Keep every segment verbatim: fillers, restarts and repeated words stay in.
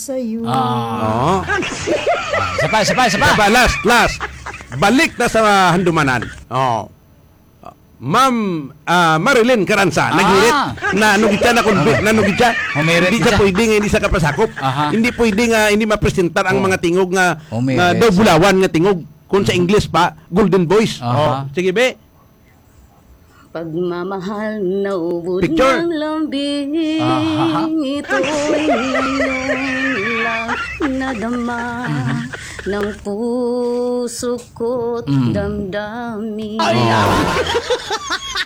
sa'yo. Ah. Oo. Ah, isa pa, isa pa, isa pa. Isa pa, last, last. Balik na sa handumanan. Oh. Ma'am, ah, Marilyn Caranza, Ah. naghirit na ano gid siya, na convict, na ano gid siya. Humirit Hindi siya siya. pwede nga hindi siya kapasakop. Aha. Hindi pwede nga hindi mapresentar ang Oh. mga tingog nga, Humirit nga daw siya. bulawan nga tingog. Kung sa English pa, golden voice. Aha. Oh, sige, be. Pagmamahal na ubod Picture. ng lambing, Aha. ito'y ngayon lang nadama Mhm. ng puso ko't Mm. damdamin. Ay, ah.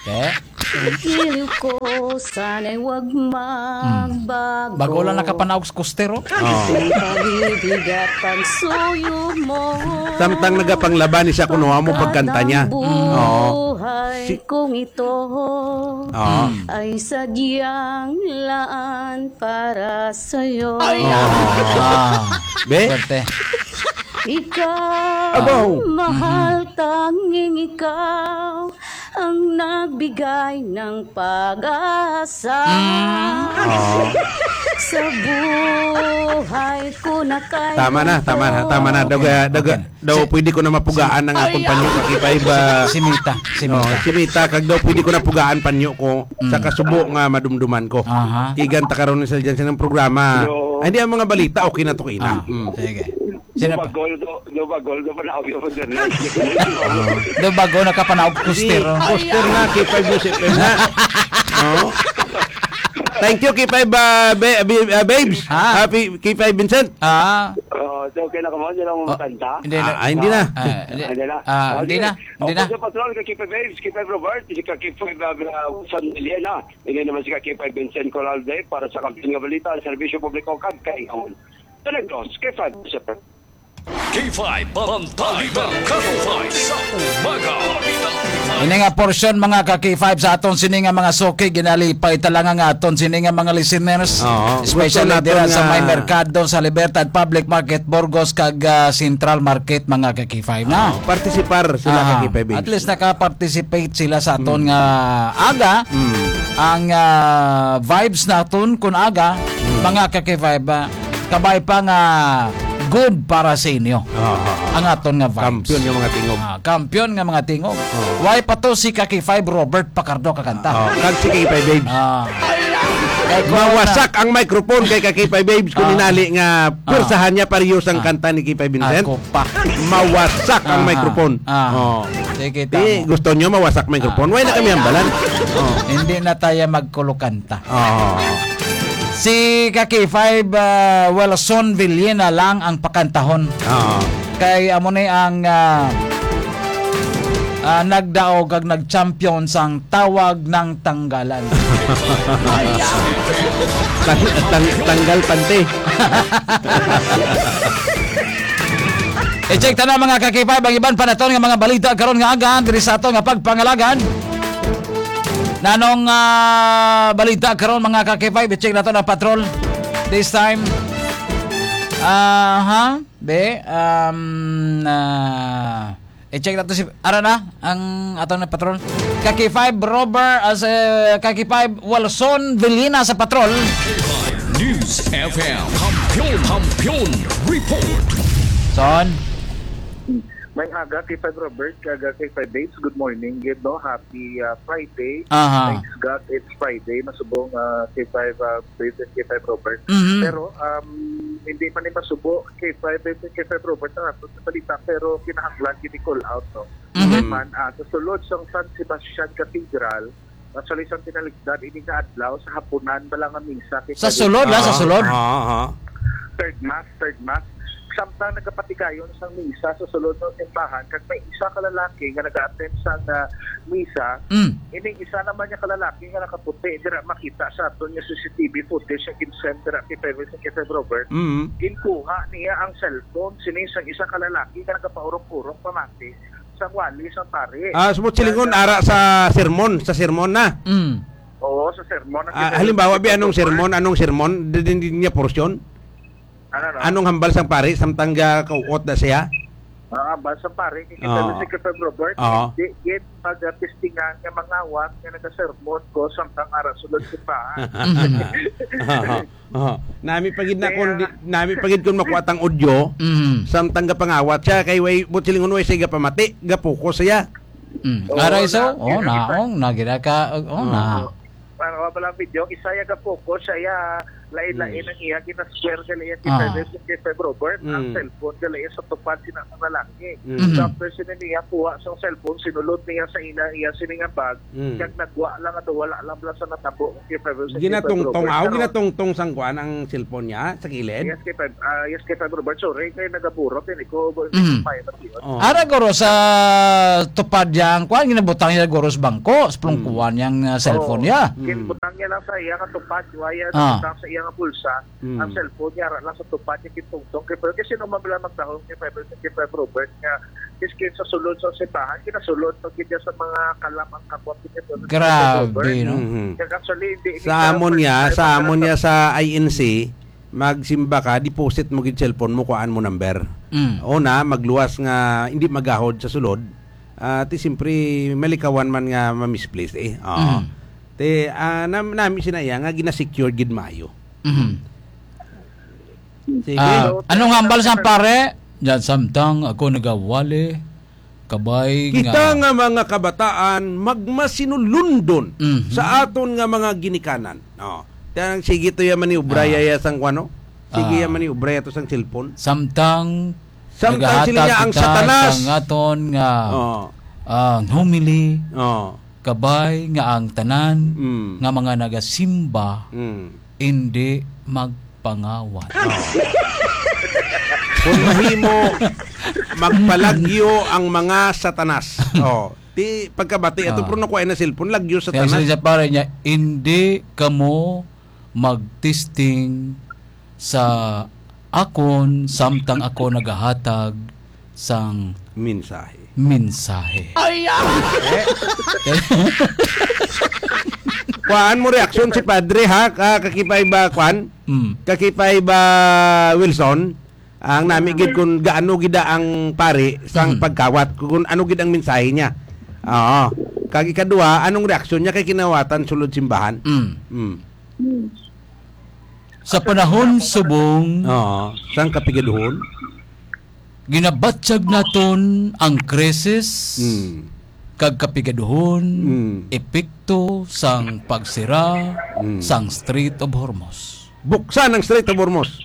Eh? Ang giliw ko, sana'y wag Mm. magbago. Bago lang nakapanaog sa coaster, oh. Oh. Ang pag-ibig at pagsuyo mo. Samtang nagapanglaba ni siya, kuno amo pagkanta niya. Ang Oo. buhay Si- kong ito Oo. ay sadyang laan para sa'yo. Ay, Oo. ah. Be? Swerte. Ikaw, Abaw. mahal, Mhm. tanging ikaw ang nagbigay ng pag-asa. Mm. Oo. Sa buhay ko na kay Tama na, tama na, tama na. Daw, Okay. daw, Okay. daw, Si pwede ko na mapugaan ang akong Ay, panyo ah. kay K five, ah, Si, si Mita, si no, Mita. si Mita, kag daw pwede ko na pugaan panyo ko Mm. sa kasubo nga madumduman ko. Aha. Igan ta karon sa dyan sa inyong programa. Hello. Ay, hindi, ang mga balita, okay na to, Ina. Ah, Mm. sige. Sino pa? Dubagol do, dubagol do, panaog yung internet. Ah. Dubagol, nakapanaog Hindi, coaster, oh. coaster na, K five News F M na. Oh. Thank you, K five, ah, ba-, ba-, ah, babes. Ah. Ah, P-, K five Vincent. Ah. Oh, so, okay na ka mo? Hindi lang Oh, makanta? hindi na. Ah, ah, hindi na. Ah, hindi. Ah, hindi na. Ah, hindi na. Okay. Hindi na. Ako po sa patrol, kay K five Babes, K five Robert, si ka K five, ah, ah, San Miguel na. Hindi naman si ka K five Vincent Coralde para sa Kampiyon nga Balita, Serbisyo Publiko, kag Kaingaon. Talagos, K five, K five, Bantay, Barangay K five, sa umaga. Ini nga porsyon, mga ka K five, sa aton sini nga mga suki, ginalipay talaga nga aton sini nga mga listeners, Oo. especially Gusto naton dira sa nga may merkado, sa Libertad Public Market, Burgos, kag, ah, Central Market, mga ka K five, na. Oo, partisipar sila, Aha. ka K five Babes. At least naka-participate sila sa aton Mm. nga aga. Mm. Ang, ah, vibes naton kun aga, Mm. mga ka K five, ah, kabay pa nga good para sa inyo. Ah, ah, ah. Ang aton nga vibes. Kampiyon nga mga tingog. Ah, kampiyon nga mga tingog. Oh. Why pa to si ka K five Robert Pacardo kakanta? Oh, kag si K five Babes. Ah. Eh, kung Mawasak na- ang microphone kay ka K five Babes kung Ah. hinali nga Ah. pwersahan niya pareho sang Ah. kanta ni K five Vincent. Ako pa. Mawasak ang Ah, microphone. ah. Oh. Sige, Di, tama. gusto nyo mawasak microphone? Ah. Why na kami hambalan? Oh. Hindi na tayo magkulukanta. Oh. Si ka K five, ah, Wilson Villena lang ang pakantahon. Oo. Kay amo ni ang, ah, ah, nagdaog kag nag-champion sang tawag ng tanggalan. Tang-, tang-, tanggal panty. I-check ta na, mga ka K five, ang iban pa naton nga mga balita karon nga aga diri sa aton nga pagpangalagan. Nanong, ah, balita karon, mga ka K five? I-check nato na, patrol. This time. Aha, be, um, ah, i-check nato si, ara na, ang aton na patrol. Ka K five Robert, as, eh, ka K five Wilson Villena sa patrol. News F M. Kampiyon, Kampiyon Report. Son? May aga, K five Robert, kag K five Babes. Good morning, gid, no? Happy, ah, Friday. Aha. Thanks God, it's Friday. Masubong, ah, K five, ah, Babes and K five Robert. Mhm. Pero, um, hindi man ni masubo, K five Babes and K five Robert, ang aton sa balita, pero kinahanglan gid i-call out, no? Mhm. Kay man, ah, sa sulod sang San Sebastian Cathedral, actually, sang tinalikdan, ini nga adlaw, sa hapunan bala nga misa, kay Sa Father sulod, ah, sa Aha, sulod? aha, aha. Third Mass, third Mass. Samtang nagapatigayon sang misa sa sulod ng simbahan, kag may isa ka lalaki nga nag-attend sa, ah, misa, Mm. ining isa naman niya ka lalaki nga nakaputi, dira makita sa aton nga C C T V footage nga ginsend dira kay Pebbles and kay Sir Robert, Mm. ginkuha niya ang cellphone sini sang isa ka lalaki nga nagapaurok-urok pamati sang wali sang pari. Ah, sa Mutsilgon, Kaya ara sa sermon, sa sermon na. Mm. Oo, sa sermon na Ah, ginawa halimbawa, sa bi, anong sermon? sermon? Anong sermon? Di, di, di niya porsyon? Ano, no? Anong hambal sang pari samtang ga kauot na siya? Ah, basta pare, kay Oo. Secretary Robert, Oo. di, di pag-testingan nga mangawat nga nagasermon ko samtang ara sulod sa simbahan. Mhm. Oo. Oo. Nami pa gid na Kaya kun di, nami pa gid kun makuha tang audio, Mhm. samtang gapangawat siya, kay way, buot silingon, way siya gapamati, gapokus siya. Mm. Oo, Aray, so, na, oh, kaya naong, na, gina ka, oh, na. Oo. Para wala lang video, isa ya ka focus, siya ya, lain-lain Mm. ang iya, gina-square ka iya, Ah. kita sa kay Robert, ang Mm. cellphone ka iya sa tupad, sina sa lalaki. Mm. Mm. So, after sini niya, kuha sa cellphone, sinulod niya sa ina, iya sini nga bag, Mm. kag nagwa lang ato, wala lang bala sa natabo, kay Robert, sa kay Ginatungtong, Robert. aw, Pero ginatungtong sang kuan ang cellphone niya sa kilid? Yes, kay Feb-, ah, yes, kay Feb Robert, sorry, kay nagaburot, yun, ikaw, Mm. may matiyon. Oh. Ara guro sa tupad yang kuan, ginabutang niya guro sa bangko, sa plungkuan yang, ah, cellphone Oo. niya. Mm. Ginbutang niya lang sa iya nga tupad, waya Ah. nabutang sa iya nga bulsa, Mm. ang cellphone niya, ara lang sa tupad niya, gintungtong. Kay, pero kasi nung mabla magdahon kay Feb-, kay Feb Robert nga, iskin sa sulod sa simbahan, ginasulod pag niya sa mga kalam ang kapwa niya, Feb Grabe, Robert. no? Mhm. Kaya actually, hindi Sa niya amon niya, first time sa amon niya nagkataon. sa I N C, magsimba ka, deposit mo gid cellphone mo, kuhaan mo number. Mm. Una, magluwas nga hindi magahod sa sulod. Ah, ti siyempre, malikawan man nga ma-misplace eh. Oo. Mm. Ti, ah, nam-, nami sina iya nga gina-secure gid maayo. Mhm. Sige. Ah, So, anong hambal sa pare? Yan, samtang ako nagawali, kabay Kita nga nga mga kabataan magmasinulundon Mhm. sa aton nga mga ginikanan. Oh. Kaya sige to ya maniubra Ah. ya sang kuano? Sige Ah. ya maniubra ya to sang cellphone. Samtang Samtang sila nagahatag niya ang kita Satanas. sang aton nga, Oh. ah, homily, Oh. kabay nga ang tanan Mm. nga mga nagasimba Mm. indi magpangawat. Oh. Kung mahimo, magpalagyo ang mga Satanas. Oh. Ti pagkabati ato, Ah. pero nakuha na cellphone, lagyo sa Kaya tanan. Sa pare niya, "Hindi kamo magtesting sa akon samtang ako nagahatag sang Mensahe. mensahe." Ay, ah! Eh? Kuhaan mo reaksyon si Padre, ha? Ka-, kakipay ba, kuan? Mm. Kakipay ba, Wilson? Ang nami gid kung gaano gid ang pari sang Mm. pagkawat, kung ano gid ang mensahe niya. Oo. Kag ikaduha, anong reaksyon niya kay kinawatan sulod simbahan? Mm. Mm. Sa panahon subong, Oo. Sang kapigaduhon? ginabatyag naton ang krisis Mm. kag kapigaduhon, Mm. epekto sang pagsira Mm. sang Strait of Hormuz. Buksan ang Strait of Hormuz.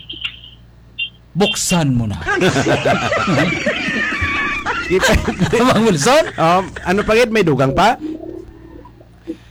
Buksan mo na. Kita, Mang Wilson? Um, ano pa gid? May dugang pa?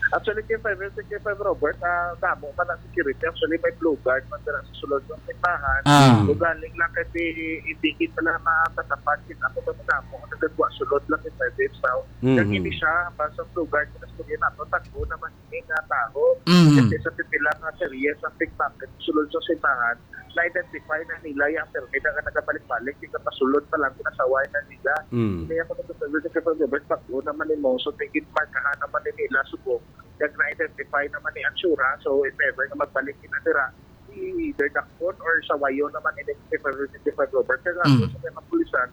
Actually, kay five, kay five Robert, ah, damo man ang security. Actually, may blue guard man dira sa sulod ng simbahan. Ah. Kung galing lang kay di, hindi kita lang matatapan, kita ko ba damo ang nagagwa sulod lang kay five sa Mhm. Kag ini siya, basta blue guard, sa istorya nato, tagbo naman ini nga tawo. Mhm. Kasi sa pipila nga series ang pickpocket, sulod sa simbahan, na-identify na nila yung permit nga nagabalik-balik, yung kapasulod pa lang, ginasaway na nila. Mm. Kaya kung nagsasabi sa Federal Government, pag-o naman ni Mongso, tingin markahan naman ni nila, subong, kag na-identify naman ni Ansura, so if ever nga magbalik na dira, either dakpon or sawayon naman ni Federal Government. Kaya nga, Mm. sa mga pulisan,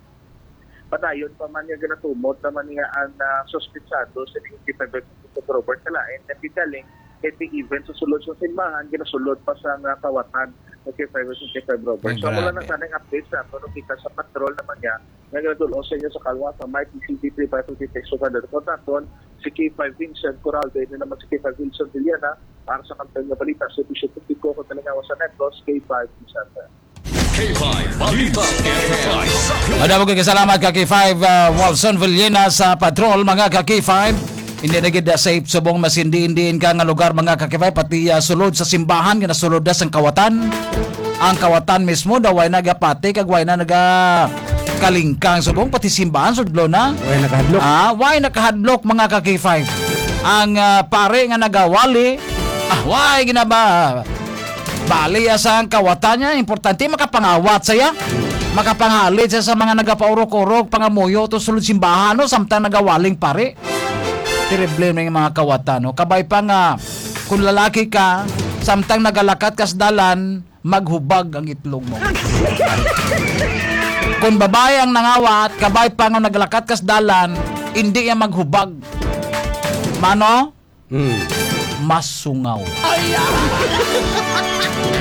padayon pa man nga ginatumod naman nga ang, ah, suspitsado sa Federal Government, kalain, nagkikaling, kay di even sa sulod sa simbahan, ginasulod pa sa nga kawatan. Okay, five, okay, five, Robert. Ay, So, wala na grabe. Sana yung update sa ato, no, kita sa patrol naman niya. Nga nagdulong sa inyo sa kalwa sa may P C D three five two six one hundred. Kontakton, si K five Vincent Coraldo, ito naman si K five Wilson Villena, para sa kampanya balita, sa Bisyo Publiko, kung talingawa sa Negros, K five Vincent. K five Balita. Madamo kay salamat ka K five, ah, Wilson Villena sa patrol, mga ka K five. Hindi na gid, ah, safe subong mas hindi-indiin ka nga lugar, mga ka K five, pati, ah, sulod sa simbahan, ginasulod na sang kawatan. Ang kawatan mismo daw way nagapati kag way na naga kalingkang subong, pati simbahan sudlo na. Way nakahadlok. Ah, way nakahadlok, mga ka K five. Ang, ah, pare nga nagawali, ah, way ginaba. Bali, ah, sa ang kawatan niya, importante makapangawat saya. Makapangalit siya sa mga nagapaurok-urok, pangamuyo to sulod simbahan, no, samtang nagawaling pare. Terrible na yung mga kawatan, no? Kabay pa nga, kung lalaki ka, samtang nagalakat ka sa dalan, maghubag ang itlog mo. Kung babae ang nangawat, kabay pa nga naglakat kas dalan, hindi yan maghubag. Mano? Hmm. Masungaw.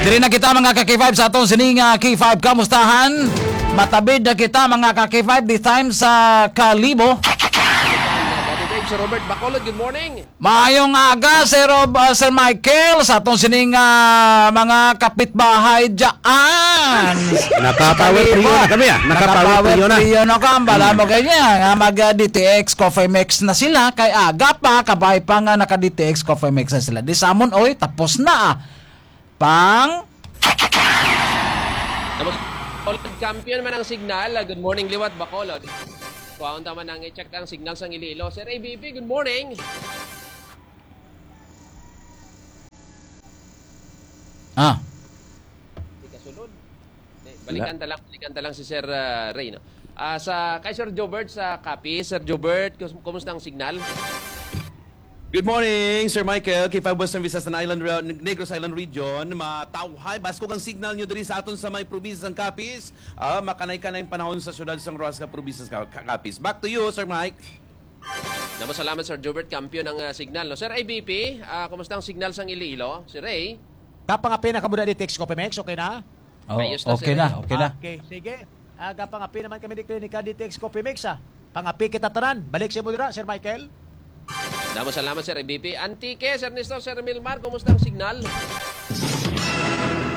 Diri na kita, mga ka-K five, sa atong sining, ah, K five Kamustahan. Matabid na kita, mga ka-K five, this time sa Kalibo. Daddy Dave, Sir Robert Bacolod, good morning. Maayong aga, Sir Rob-, ah, Sir Michael, sa atong sining, ah, mga kapitbahay dyan. Naka-power trio na kami, ah. Naka-power trio na. Naka-power trio na ka. Ang bala mo ganyan, nga mag, ah, D T X Coffee Mix na sila. Kay aga pa, kabay pa nga naka-D T X Coffee Mix na sila. Di sa amon, oy, tapos na, ah. Pang Tapos, Bacolod, kampiyon man ang signal. Ah, good morning, liwat, Bacolod. Kuhaon ta man ang i-check ang signal sang Iloilo. Sir A B P, good morning. Ah. Di kasulod. Eh, balikan ta lang, balikan ta lang si Sir, ah, Ray, no? Ah, sa, kay Sir Jobert sa Capiz. Sir Jobert, kus-, kumusta ang signal? Good morning, Sir Michael. K five Western Visayas and Island Re-, Negros Island Region. Matawhay, baskog ang signal nyo diri sa aton sa may probinsya sang Capiz. Ah, makanay-kanay ang panahon sa syudad sang Roxas, probinsya sa Ca-, Ca-, Capiz. Back to you, Sir Mike. Damo salamat, Sir Jobert. Kampiyon ang, ah, signal, no? Sir A B P, ah, kumusta ang signal sang Iloilo? Sir Ray? Kapangapi na kamo diri, D T X Coffee Mix, okay na? Oh, ayos na, okay sir. Na, okay na. Okay, sige. Ah, kapangapi naman kami di Klinika D T X Coffee Mix, ah. Pangapi kita tanan. Balik sa imo dira, Sir Michael. Damo salamat, Sir A B P. Antique, Sir Nestor, Sir Milmar, kumusta ang signal?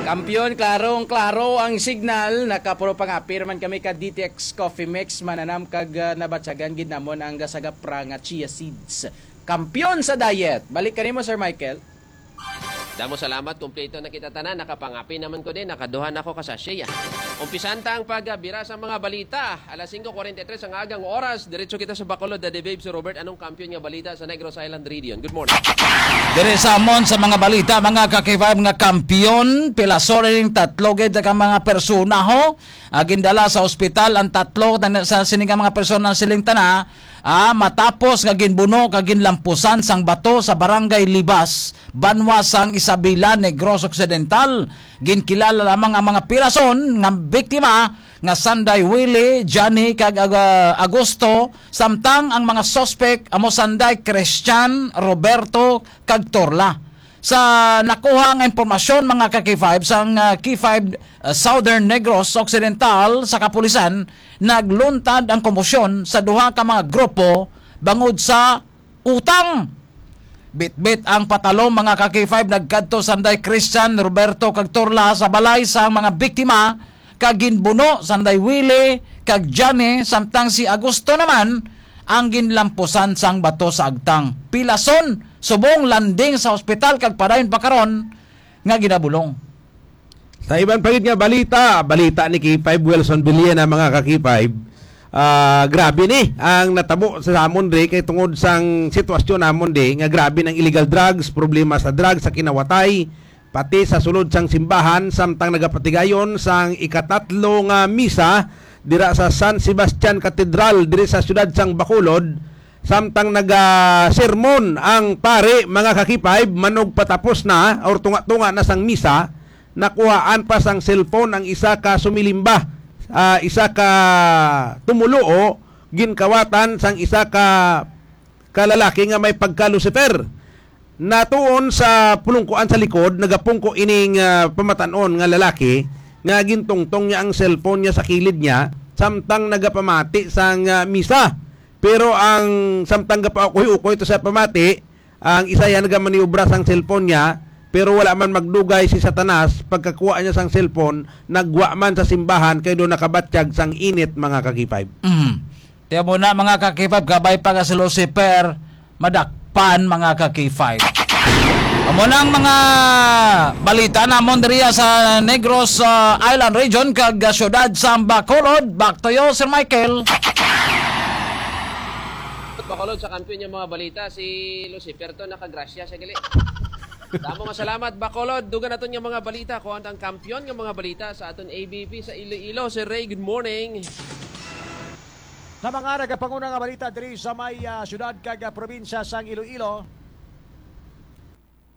Kampiyon, klarong-klaro ang signal. Nakapuro pangapi naman kami ka D T X Coffee Mix. Mananam kag, ah, nabatyagan gid namon ang gasagap ra nga chia seeds. Kampiyon sa diet. Balik kanimo, Sir Michael. Damo salamat, kompleto na kita tanan. Nakapangapi naman ko din, nakaduha na ako ka sachet, ah. Umpisan ta ang pagbira sa mga balita. Alas singko kuwarenta y tres ang agang oras. Diretso kita sa Bacolod, Daddy Babe, si Robert. Anong kampiyon nga balita sa Negros Island Region? Good morning. Dire sa amon sa mga balita, mga ka-K five, nga kampiyon, pilason ning tatlo gid ka mga persona, ho. Ah, gindala sa ospital ang tatlo na, sa sini nga mga persona siling tana, ah, matapos nga ginbuno kag ginlampusan sang bato sa Barangay Libas, banwa sang Isabela, Negros Occidental. Ginkilala lamang ang mga pilason nga biktima nga sanday Willie, Johnny, kag Ag-, Agosto, samtang ang mga suspek amo sanday Christian, Roberto, kag Torla. Sa nakuha nga impormasyon, mga ka-K five, sang, ah, K five, ah, Southern Negros Occidental sa kapulisan, nagluntad ang komosyon sa duha ka mga grupo bangod sa utang. Bitbit ang patalom, mga ka-K five, nagkadto sanday Christian, Roberto, kag Torla sa balay sang mga biktima, kag ginbuno sanday Willie kag Johnny, samtang si Agosto naman ang ginlampusan sang bato sa agtang. Pilason, subong landing sa ospital kag padayon pa karon nga ginabulong. Sa iban pa gid nga balita, balita ni K five Wilson Villena, mga ka-K five, ah, grabe ni ang natabo sa amon di kay tungod sang sitwasyon namon di nga grabe ang illegal drugs, problema sa drugs, sa kinawatay, pati sa sulod sang simbahan, samtang nagapatigayon sang ikatatlo nga misa dira sa San Sebastian Cathedral diri sa siyudad sang Bacolod, samtang naga-sermon ang pari, mga ka-K five, manugpatapos na or tunga-tunga na sang misa, nakuhaan pa sang cellphone ang isa ka sumilimba, ah, isa ka tumuluo, ginkawatan sang isa ka ka lalaki nga may pagka-Lucifer. Natuon sa pulungkuan sa likod, nagapungko ining, ah, pamatan-on nga lalaki nga gintungtong niya ang cellphone niya sa kilid niya samtang nagapamati sang, ah, misa. Pero ang samtang gapaukoy-ukoy to sa pamati, ang isa yan nagamaniobra sang cellphone niya, pero wala man magdugay si Satanas, pagkakuha niya sang cellphone, nagwa man sa simbahan kay do nakabatyag sang init, mga ka-K five. Mm. Tiyan mo na, mga ka-K five, kabay pa nga si Lucifer, madakpan, mga ka-K five. Amo na ang mga balita namon diriya sa Negros, ah, Island Region, kag, ah, siyudad sa Bacolod. Back to you, Sir Michael. Bacolod, sa kampiyon niya mga balita, si Lucifer to, nakagrasya siya gali. Damo nga salamat, Bacolod. Dugan naton nga mga balita. Kuha ang kampiyon nga mga balita sa aton A B P sa Iloilo. Sir Ray, good morning. Sa mga nagapanguna nga balita diri sa may, ah, siyudad kag, ah, probinsya sang Iloilo.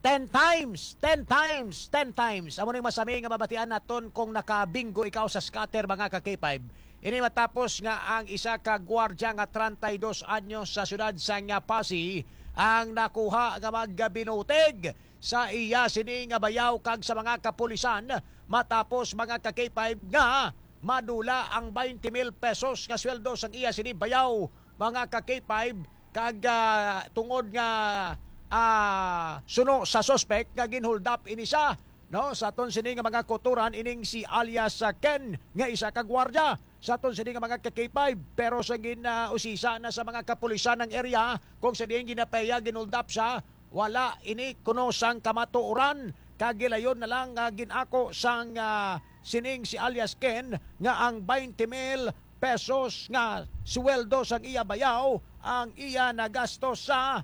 Ten times, ten times, ten times. Amo ning masami nga mabatian naton kung nakabingo ikaw sa scatter, mga ka-K five. Ini matapos nga ang isa ka gwardya nga treinta y dos anyos sa siyudad sang Passi ang nakuha nga magabinutig sa iya sini nga bayaw kag sa mga kapulisan matapos, mga ka-K five, nga madula ang twenty mil pesos nga sweldo sang iya sini bayaw, mga ka-K five, kag, ah, tungod nga, ah, suno sa suspect nga ginhold up ini siya, no, sa aton sini nga mga kauturan, ining si alias, ah, Ken nga isa ka gwardiya sa aton sini nga mga ka-K five, pero sa gin, ah, usisa na sa mga kapulisan ng area kung sa diin ginapeya, ginhold up siya, wala ini kuno sang kamatuoran, kag gilayon na lang nga gin-ako sang, ah, sining si alias Ken nga ang twenty mil pesos nga sweldo sang iya bayaw ang iya nagasto sa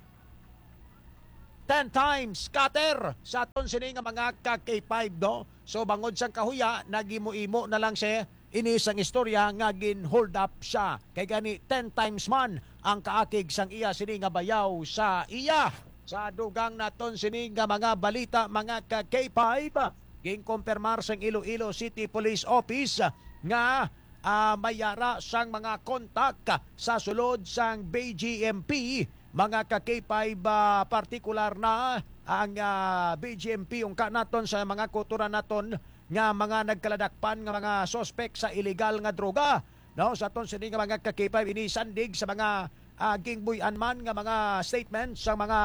ten times scatter sa aton sini nga mga ka-K five, no? So, bangod sang kahuya, nagimo-imo na lang siya ini sang istorya nga gin-hold up siya. Kay gani, ten times man ang kaakig sang iya sini nga bayaw sa iya. Sa dugang naton sini nga mga balita, mga ka-K five, ginkumpirmar sang Iloilo City Police Office nga, ah, may yara sang mga kontak sa sulod sang B G M P, mga ka-K five, ah, partikular na ang, ah, B G M P, ungka naton sa mga kauturan naton nga mga nagkaladakpan nga mga suspek sa iligal nga droga, no? Sa aton sini nga mga ka-K five, ini sandig sa mga, ah, gingbuy-an man nga mga statement sa mga,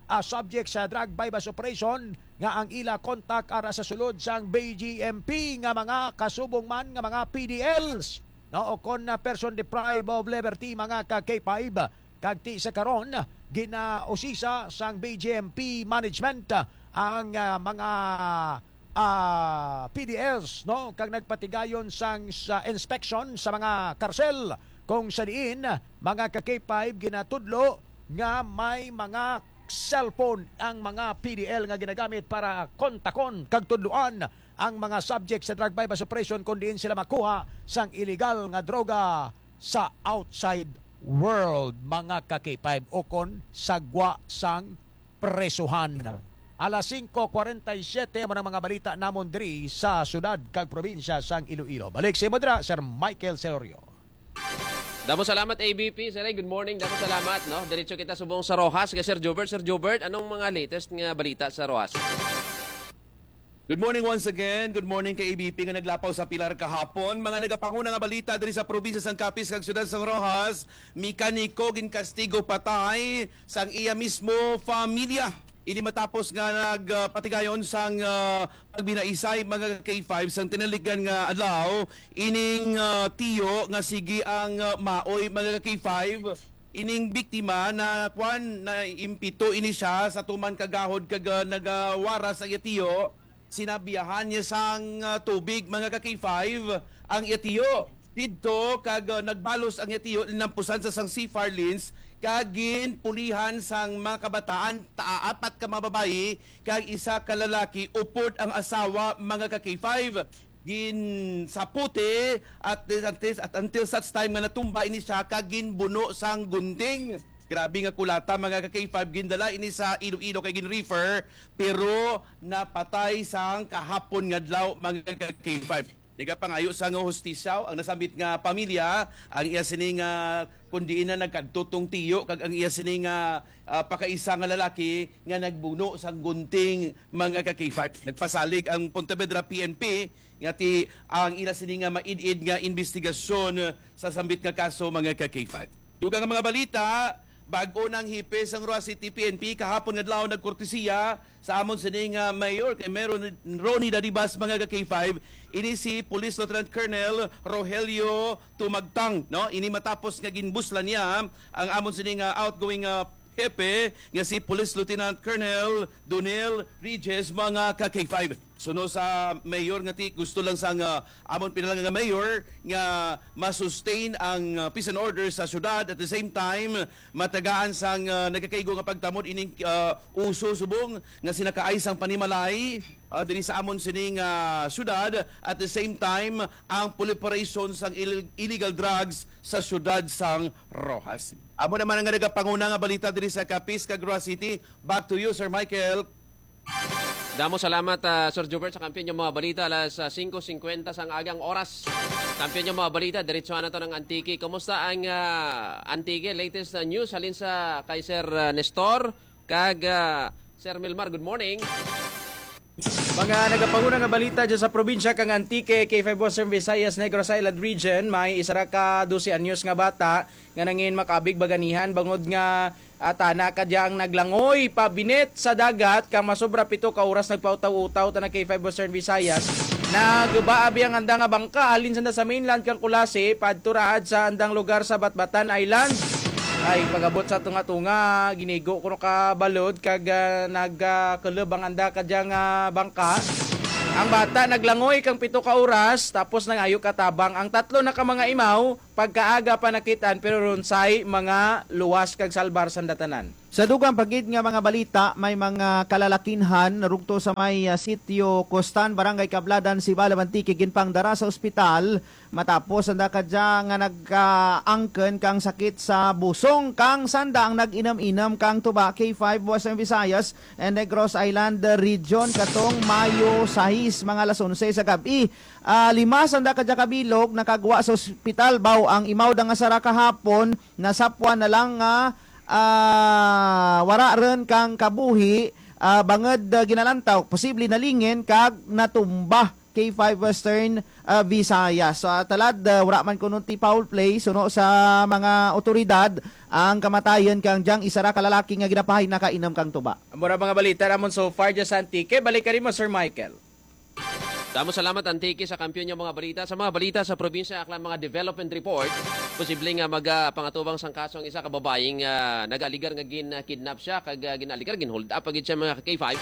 ah, subject sa drug buy-bust operation nga ang ila kontak ara sa sulod sang B G M P nga mga kasubong man nga mga P D Ls, no? O kon, ah, person deprived of liberty, mga ka-K five. Kag ti sa karon, ginausisa sang B G M P management ang, ah, mga, ah, P D Ls, no, kag nagpatigayon sang sa inspection sa mga karsel, kung sa diin, mga ka-K five, ginatudlo nga may mga cellphone ang mga P D L nga ginagamit para kontakon kag tudloan ang mga subject sa drug buy-bust operation kung diin sila makuha sang iligal nga droga sa outside world, mga ka-K five, ukon sa gwa sang presuhan. Alas singko kwarenta y siyete man ang mga balita namon diri sa syudad kag probinsya sang Iloilo. Balik sa imo dira, Sir Michael Selorio. Damo salamat, A B P. Sir, good morning. Damo salamat, no? Diretso kita subong sa Roxas kay Sir Jobert. Sir Jobert, anong mga latest nga balita sa Roxas? Good morning once again. Good morning kay A B P nga naglapaw sa pilar kahapon. Mga nagapanguna nga balita diri sa probinsya sang Capiz kag siyudad sang Roxas, mekaniko ginkastigo patay sang iya mismo pamilya. Ini matapos nga nagpatigayon sang, ah, pagbinaisay, mga K five, sang tinaligdan nga adlaw ining, ah, tiyo nga sige ang, ah, maoy, mga K five. Ining biktima na, kwan, na impito ini siya sa tuman kagahod kag, ah, nagawara sa iya tiyo. Sinabiyahan niya sang, ah, tubig, mga ka K five, ang iya tiyo. Didto kag, ah, nagbalos ang iya tiyo, linampusan sa sang C F A R lens kag ginpulihan sang mga kabataan, ta apat ka mga babayi kag isa ka lalaki, upod ang asawa, mga ka K five. Ginsaputi at, at, at until such time nga natumba ini siya kag ginbuno sang gunting. Grabe nga kulata, mga ka K five. Gindala ini sa Iloilo kay gin-refer, pero napatay sang kahapon nga adlaw, mga ka K five. Nagapangayo sa nga hustisya ang nasambit nga pamilya, ang iya sini nga kung diin na nagkadto tong tiyo kag ang iya sini nga, ah, pakaisa nga lalaki nga nagbuno sang gunting, mga ka K five. Nagpasalig ang Pontevedra P N P nga ti ang ila sini nga maid-id nga investigasyon sa sambit nga kaso, mga ka K five. Dugang nga mga balita, bag-o nang hepe sang Roxas City P N P kahapon nga adlaw nagkortesiya sa amon sini nga mayor kay Mayor Ronnie Dadibas, mga ka K five. Ini si Police Lieutenant Colonel Rogelio Tumagtang, no? Ini matapos nga ginbuslan niya ang amon sini nga outgoing, ah, hepe nga si Police Lieutenant Colonel Donel Regis, mga ka K five. Suno sa mayor nga ti gusto lang sang, ah, amon pinalangga nga mayor nga ma-sustain ang, ah, peace and order sa syudad. At the same time, matagaan sang, ah, nagakaigo nga pagtamod ining, ah, uso subong nga sinakaay sang panimalay, ah, diri sa amon sining, ah, syudad. At the same time, ang proliferation sang ill- illegal drugs sa syudad sang Roxas. Amo naman ang nagapanguna nga balita diri sa Capiz kag Roxas City. Back to you, Sir Michael. Damo salamat, ah, Sir Jubert, sa kampiyon nga mga balita. Alas, ah, singko singkwenta sang agang oras. Kampiyon nga mga balita, diretso na to ng Antique. Kumusta ang, ah, Antique? Latest, ah, news halin sa kay Sir, ah, Nestor kag, ah, Sir Milmar. Good morning. Mga nagapanguna nga balita dyan sa probinsya kang Antique, K five Western Visayas, Negros Island Region, may isa ra ka dose anyos nga bata nga nangin makabig baganihan bangod nga, ah, tana ka dya ang naglangoy pabinit sa dagat kang masobra pito ka oras nagpautaw-utaw tana K five Western Visayas. Nagbaabi ang anda nga bangka halin sa, sa mainland kang Culasi padto raad sa andang lugar sa Batbatan Island. Ay, pagabot sa tunga-tunga, ginigo kuno ka balod kag, ah, nagkulub ang anda kadya nga bangka. Ang bata naglangoy kang pito ka oras tapos nangayo katabang. Ang tatlo na ka mga imaw pagkaaga pa nakitaan pero runsay mga luwas kag salbar sa datanan. Sa dugang pa gid nga mga balita, may mga kalalakinhan narugto sa may, ah, sitio Costan, Barangay Cabladan, Sibalom, Antique, ginpangdara sa ospital matapos ang dakadya nga nagkaangken kang sakit sa busong kang sanda ang nag-inam-inam kang tuba. K five Western Visayas and Negros Island Region katong Mayo sais, mga alas onse sa gab-i. Ah, lima sanda kadya kabilog nakagwa sa ospital, baw ang imaw da nga sara kahapon nasapwan na lang nga, ah, wara rin kang kabuhi, ah, bangod, ah, ginalantaw, posible nalingin kag natumba. K five Western, ah, Visayas. So, ah, talad, ah, wala man kuno ti foul play, suno sa mga otoridad ang kamatayon kang dyang isa ra ka lalaki nga ginapahay nakainom kang tuba. Mura mga balita namon so far dyan sa Antique. Balik ka rin mo, Sir Michael. Damo salamat, Antique, sa kampiyon nga mga balita. Sa mga balita sa probinsya, aklan mga development report, posible nga magapangatuwang sang kaso ang isa ka babayi nga nag-aligar nga gin-kidnap siya, kag, ah, gin-aligar, gin-hold up pa gid siya, mga ka-K five.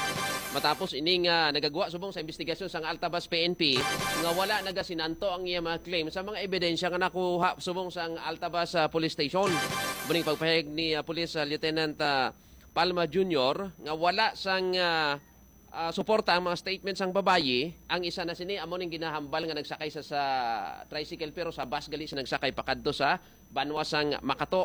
Matapos ini nga nagagwa subong sa investigasyon sang Altabas P N P nga wala nagasinanto ang iya mga claim sa mga ebidensya nga nakuha subong sang Altabas, ah, Police Station. Muning pagpahayag ni, ah, Police, ah, Lieutenant, ah, Palma Junior nga wala sang, ah, ah, suporta ang mga statement sang babayi. Ang isa na sini amo ning ginahambal nga nagsakay sa, sa tricycle pero sa bus gali siya nagsakay pakadto sa banwa sang Makato.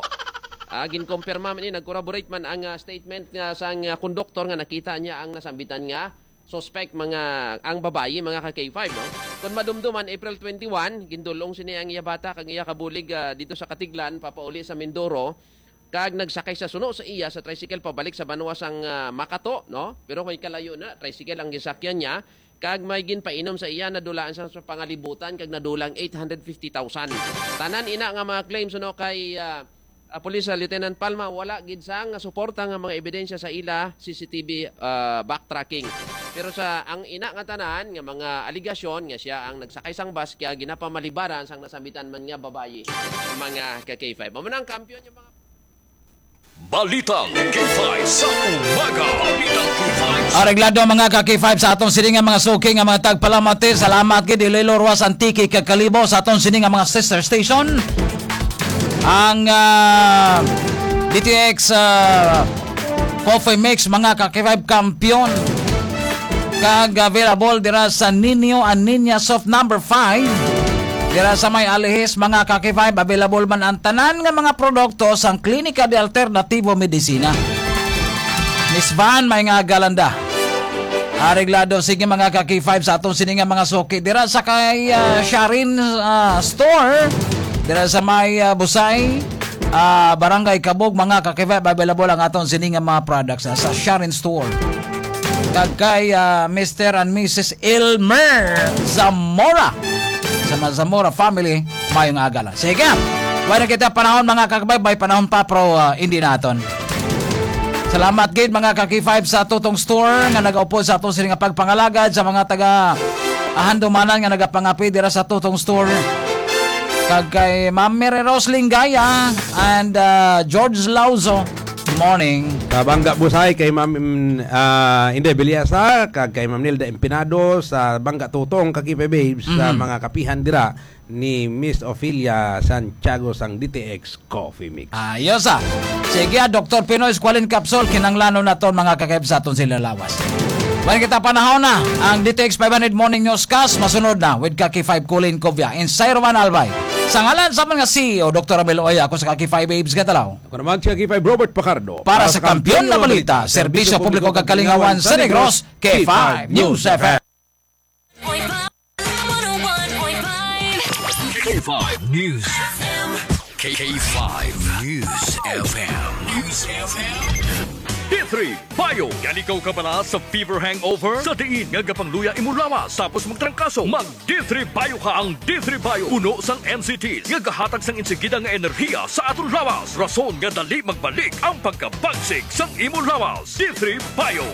Ah, ginkumpirma man ni, nag-corroborate man ang, ah, statement nga sang, ah, konduktor nga nakita niya ang nasambitan nga suspect, mga, ang babayi, mga ka-K five, no? Kung madumduman, April twenty-one, gindulong sini ang iya bata kag iya kabulig, ah, dito sa Katiglan, papauli sa Mindoro, kag nagsakay sa suno sa iya sa tricycle pabalik sa banwa sang, ah, Makato, no? Pero may kalayo na, tricycle ang gisakyan niya, kag may ginpainom sa iya, nadulaan sa, sa pangalibutan kag nadulang eight hundred fifty thousand. Tanan ina nga mga claims, no, kay, ah, ah, Police, ah, Lieutenant Palma, wala gid sang suporta nga mga ebidensya sa ila C C T V, ah, backtracking. Pero sa ang ina nga tanan nga mga aligasyon nga siya ang nagsakay sang bus kaya ginapamalibaran sang nasambitan man nga babayi, mga ka-K five. Amo na ang kampiyon nga mga Balitang K five sa umaga. Balitang K five sa Areglado, mga ka-K five, sa aton sini nga mga suki nga mga tagpalamati. Salamat gid, Iloilo, Roxas, Antique, kag Kalibo, sa aton sini nga mga sister station. Ang, ah, D T X, ah, Coffee Mix, mga ka-K five, kampiyon. Kag available dira sa Nino and Niña Soft number five. Dira sa may Alihis, mga ka-K five, available man ang tanan nga mga produkto sang Klinika de Alternativo Medicina. Miss Van, may nga galanda. Areglado, sige, mga ka-K five, sa aton sini nga mga suki. Dira sa kay, ah, Sharin, ah, Store. Dira sa may, ah, Busay, ah, Barangay Kabog, mga ka-K five, available ang aton sini nga mga products, ah, sa Sharin Store. Kag kay, ah, Mister and Missus Elmer Zamora. Sa mga Zamora family, mayong aga lang. Sige, wala na kita panahon, mga ka-K five, may panahon pa, pero, ah, hindi naton. Salamat gid, mga ka-K five, sa Tutong Store nga nagaupod sa aton sini nga pagpangalagad, sa mga taga Ahandumanan nga nagapangapi dira sa Tutong Store. Kag kay Ma'am Mary Rose Lingaya and, ah, George Lauzo. Morning. Sa Bangga Busay kay Ma'am, mm, ah, Inday Bilyasa, kag kay Ma'am Nilda Empinado sa Bangga Tutong, kag K five Babes, sa Mm. mga kapihan dira ni Miss Ophelia Santiago sang D T X Coffee Mix. Ayos, ah. Sige, ah, Doktor Pinoy Squalene Capsule, kinanglanon naton, mga ka-K five, sa aton sini nga lawas. Wala kita panahon na, ang D T X five hundred Morning Newscast, masunod na with ka-K five Colin Covia. Insay Roman Albay. Sa ngalan sa mga C E O, Doktor Ramil Oya, ako sa Kaki five Babes Gatalaw. Ako naman si Kaki five Robert Pacardo. Para sa Kampiyon na Balita, Serbisyo Publiko kag Kalingawan sa Negros, K five News F M. K five News. K five News F M. News F M. D three Bio. Yan ikaw kabala sa fever hangover? Sa diin nga gapangluya imo lawas tapos magtrangkaso? Mag D three Bio ka. Ang D three Bio puno sang N C Ts nga gahatag sang insigida nga enerhiya sa aton lawas, rason nga dali magbalik ang pagkabagsik sang imo lawas. D three Bio.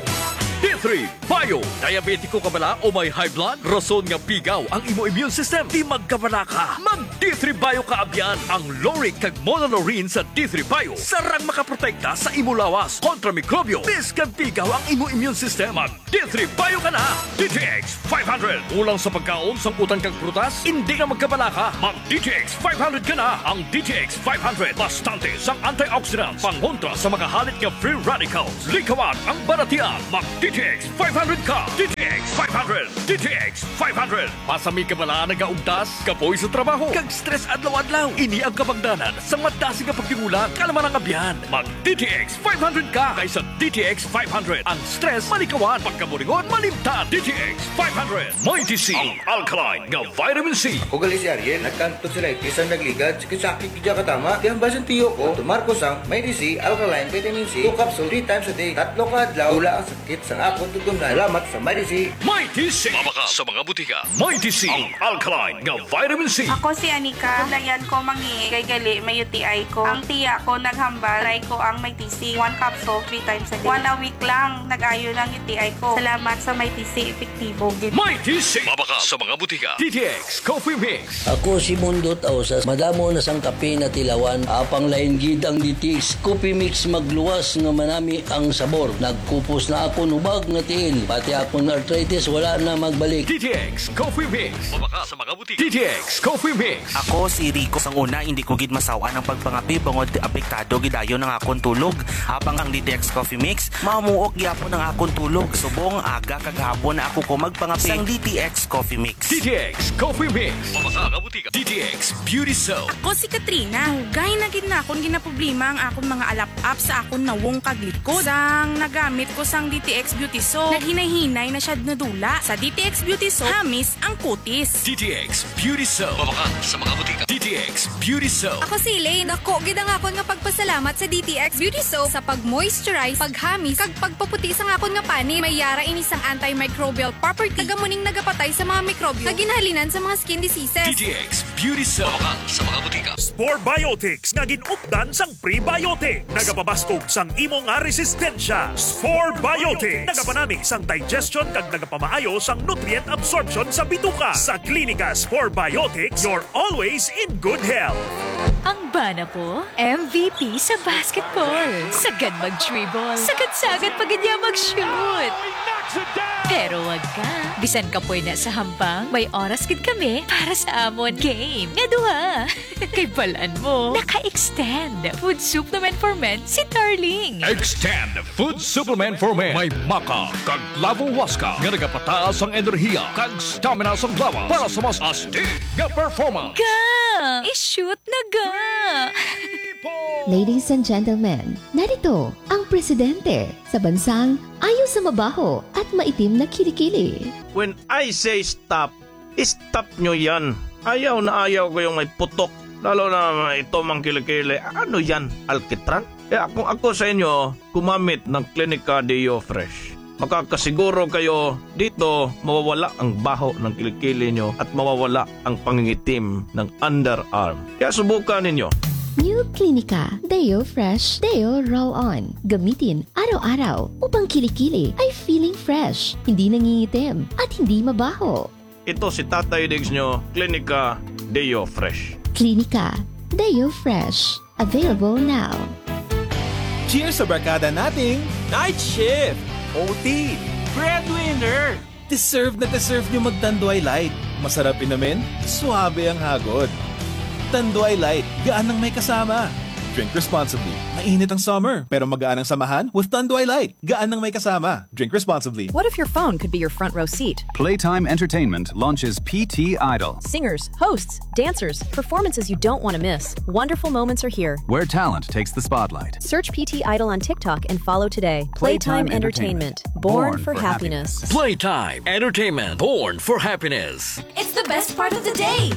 D three Bio. Diabetiko ka bala o may high blood? Rason nga pigaw ang imo immune system? Di magkabala ka. Mag D three Bio ka abyan. Ang lauric kag monolaurin sa D three Bio sarang makaprotekta sa imo lawas kontra mikrobyo. Bisan pigaw ang imo immune system, mag D three Bio ka na. D T X five hundred. Kulang sa pagkaon, sangkutan kag prutas? Indi na magkabala ka. Mag D T X five hundred ka na. Ang D T X five hundred bastante sang antioxidants, pangontra sa mga halit nga free radicals. Likawan ang balatian. Mag D T X five hundred ka. D T X five hundred. D T X five hundred. Pasami ka bala nagaugtas, kapoy sa trabaho, kag stress adlaw-adlaw? Ini ang kabangdanan sang madasig nga pagtingulang, kalma nga abyan. Mag D T X five hundred ka, kay sa D T X five hundred, ang stress malikawan, pagkaburingon malimtan. D T X five hundred. Mighty C, ang alkaline nga vitamin C. Ako gali si Ariel, nagkantod sa lightis ang nagligad, sakit-sakit gid katama. Di ang basin tiyo ko, tumar ko sang Mighty C, alkaline vitamin C, two capsule, three times a day, tatlo ka adlaw, wala ang sakit sang akon tutumnan. Salamat sa Mighty C. Mighty C. Mabakal sa mga butika. Mighty C, ang alkaline nga vitamin C. Ako si Anika. Layan ko mangi kay gali may U T I ko. Ang tiya ko naghambal, try ko ang Mighty C. One capsule, three times a day. One a week lang, nag-ayo na ang U T I ko. Salamat sa Mighty C, epektibo gid. Mighty C. Mabakal sa mga butika. D T X Coffee Mix. Ako si Mundot Ausas. Madamo na sang kape natilawan. Apang lain gid ang D T X Coffee Mix, magluwas nga manami ang sabor. Nagkupos na akon hubag nga tiil. Pati akon arthritis wala na magbalik. D T X Coffee Mix. Mabakal sa mga butika. D T X Coffee Mix. Ako si Rico. Sang una, hindi ko gid masaw-an ang pagpangape bangod apektado gid dayon ang akon tulog. Apang ang D T X Coffee Mix, mamuok gyapon ang akon tulog. Subong aga kag hapon na ako ko magpangape. Sang D T X Coffee Mix. D T X Coffee Mix. Mabakal sa mga butika. D T X Beauty Soap. Ako si Katrina. Dugay na gid na akon ginaproblema ang akon mga alap-ap sa akon nawong kag likod. Sang nagamit ko sang D T X Beauty Soap, naghinay-hinay na siya nadula. Sa D T X Beauty Soap, hamis ang kutis. D T X Beauty Soap. Mabakal sa mga butika. D T X Beauty Soap. Ako si Elaine. Dako gid ang akon nga pagpasalamat sa D T X Beauty Soap sa pag-moisturize, paghamis, kag pagpaputi sang akon nga panit. May yara ini sang antimicrobial property. Taga mo ning nagapatay sa mga mikrobyo nga ginhalinan sa mga skin diseases. D T X Beauty Soap. Mabakal sa mga butika. Spore Biotics nga gin-updan sang prebiotic. Nagapabaskog sang imo nga resistensya. Spore Biotics. Nagapanami sang digestion kag nagapamaayo sang nutrient absorption sa bituka. Sa Klinika Spore Biotics, you're always in good health. Ang bana ko, M V P sa basketball. Sagad mag-dribble. Sagad-sagad pa gid niya mag-shoot. Pero wag ka. Bisan kapoy na sa hampang, may oras gid kami para sa amon game nga duha. Kay balan mo, naka-extend food supplement for men si Darling. Extend food supplement for men. May maca kag clavo huasca nga nagapataas ang enerhiya kag stamina sang lawas para sa mas astig nga performance. Ga! I-shoot na ga! Ladies and gentlemen, narito ang presidente sa bansang ayo sa mabaho at maitim na kilikili. When I say stop, stop nyo yan. Ayaw na ayaw ko yung may putok. Lalo na ito mang kilikili. Ano yan? Alkitran? Kaya kung ako sa inyo, gumamit ng Klinika Deo Fresh. Makakasiguro kayo dito mawawala ang baho ng kilikili nyo at mawawala ang pangingitim ng underarm. Kaya subukan ninyo. New Klinika Deo Fresh Deo Roll On. Gamitin araw-araw upang kilikili ay feeling fresh, hindi nangingitim, at hindi mabaho. Ito si Tatay Diggs nyo, Klinika Deo Fresh. Klinika Deo Fresh. Available now. Cheers sa barkada nating night shift, O T, breadwinner. Deserve na deserve nyo mag Tanduay Light. Masarap inumin, suabe ang hagod. Tanduay Light, gaan ang may kasama. Drink responsibly. Mainit ang summer, pero magaan ang samahan with Tanduay Light. Gaan ng may kasama. Drink responsibly. What if your phone could be your front row seat? Playtime Entertainment launches P T Idol, Singers, hosts, dancers, performances you don't want to miss. Wonderful moments are here. Where talent takes the spotlight. Search P T Idol on TikTok and follow today. Playtime Entertainment. Born, Born for, for happiness. Playtime Entertainment, born for happiness. It's the best part of the day.